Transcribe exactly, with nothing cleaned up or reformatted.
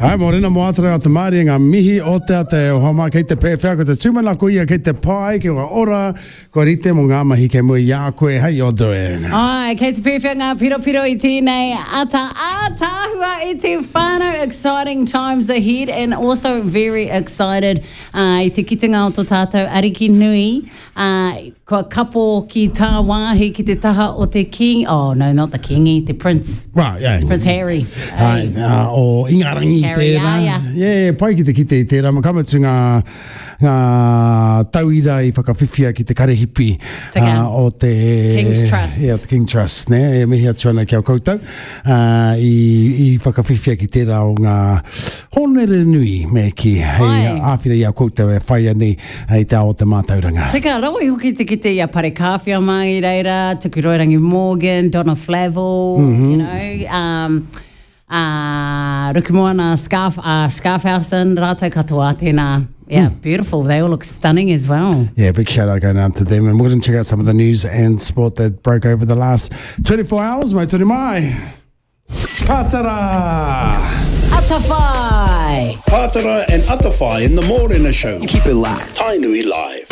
Hai, mōrena mō ātara o te māri ngā mihi o te ate o homa kei te pēwhea ko te tūmanako ia kei te pai, kei kua ora, kua rite mō ngā mahi kei mua i a koe, how you doing? Ai, kei te pēwhea ngā piropiro i tēnei ata ātaahua i te whānau. Exciting times ahead and also very excited uh, i te kitenga o tō tātou ariki nui. Uh, kua kapo ki tāwāhi ki te taha o te king. Oh, no, not the kingi, te prince. Well, yeah. Prince Harry. Ai, uh, o Ingarangi Harry, tērā. ia, ia. Yeah, yeah, pai ki te kite i tērā. Ka mutu ngā, ngā tauira i whakawhiwhia ki te karehipi Tika. uh, o te... King's Trust. Yeah, te King Trust, ne? E mihi atu ana ki a koutou. Uh, i, i whakawhiwhia ki tērā o ngā honere nui me ki hei Ai. āwhina i a koutou e whai ani hei te ao o te mātauranga. Tika, rawa i hoki te kite i a Parekāwhia mai i reira, Tukuroirangi Morgan, Donna Flavel, mm -hmm. you know, um, uh, Rukumoana Scarf, uh, Scarfhausen, rātou katoa tēnā. Yeah, mm. beautiful. They all look stunning as well. Yeah, big shout out going out to them. And we're going to check out some of the news and sport that broke over the last twenty-four hours. Mai tonu mai. Pātara! Atawhai! Pātara and Atawhai in the Mōrena Show. Keep it locked. Tainui Live.